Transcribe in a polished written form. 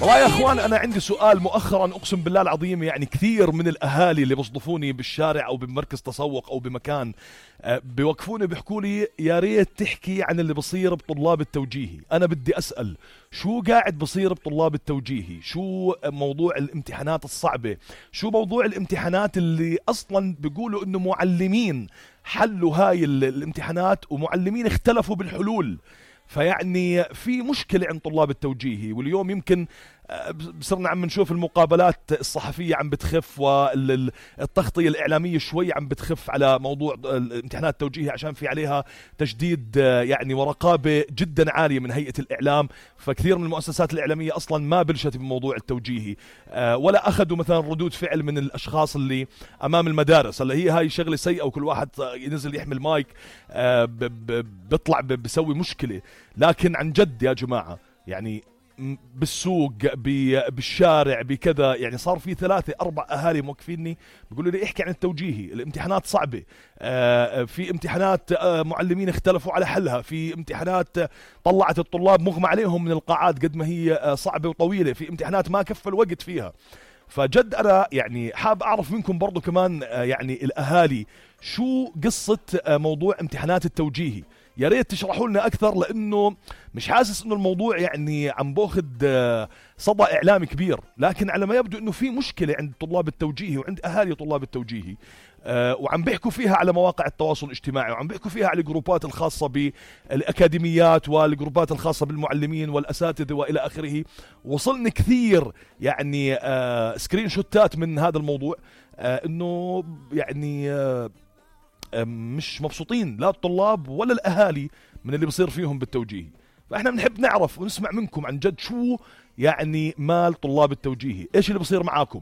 والله يا اخوان انا عندي سؤال مؤخرا اقسم بالله العظيم، يعني كثير من الاهالي اللي بيصدفوني بالشارع او بمركز تسوق او بمكان بيوقفوني بيحكوا لي يا ريت تحكي عن اللي بصير بطلاب التوجيهي. انا بدي اسال شو قاعد بصير بطلاب التوجيهي؟ شو موضوع الامتحانات الصعبة؟ شو موضوع الامتحانات اللي اصلا بيقولوا انه معلمين حلوا هاي الامتحانات ومعلمين اختلفوا بالحلول؟ فيعني في مشكلة عند طلاب التوجيهي، واليوم يمكن صرنا عم نشوف المقابلات الصحفية عم بتخف والتغطية الإعلامية شوي عم بتخف على موضوع الامتحانات التوجيهي عشان في عليها تجديد يعني ورقابة جدا عالية من هيئة الإعلام. فكثير من المؤسسات الإعلامية أصلا ما بلشت بموضوع التوجيهي ولا أخذوا مثلا ردود فعل من الأشخاص اللي أمام المدارس. هلا هي هاي شغلة سيئة وكل واحد ينزل يحمل مايك بيطلع بيسوي مشكلة، لكن عن جد يا جماعة يعني بالسوق بالشارع بكذا يعني صار في 3-4 أهالي موقفيني بيقولوا لي احكي عن التوجيهي، الامتحانات صعبة، في امتحانات معلمين اختلفوا على حلها، في امتحانات طلعت الطلاب مغمى عليهم من القاعات قد ما هي صعبة وطويلة، في امتحانات ما كفى الوقت فيها. فجد أنا يعني حاب أعرف منكم برضو كمان يعني الأهالي شو قصة موضوع امتحانات التوجيهي؟ يا ريت تشرحوا لنا أكثر، لأنه مش حاسس إنه الموضوع يعني عم باخذ صدى إعلامي كبير، لكن على ما يبدو إنه في مشكلة عند طلاب التوجيهي وعند أهالي طلاب التوجيهي، وعم بيحكوا فيها على مواقع التواصل الاجتماعي، وعم بيحكوا فيها على الجروبات الخاصة بالأكاديميات والجروبات الخاصة بالمعلمين والأساتذة وإلى آخره. وصلني كثير يعني سكرين شوتات من هذا الموضوع، إنه يعني مش مبسوطين لا الطلاب ولا الأهالي من اللي بصير فيهم بالتوجيهي. فإحنا بنحب نعرف ونسمع منكم عن جد شو يعني مال طلاب التوجيهي، إيش اللي بصير معاكم؟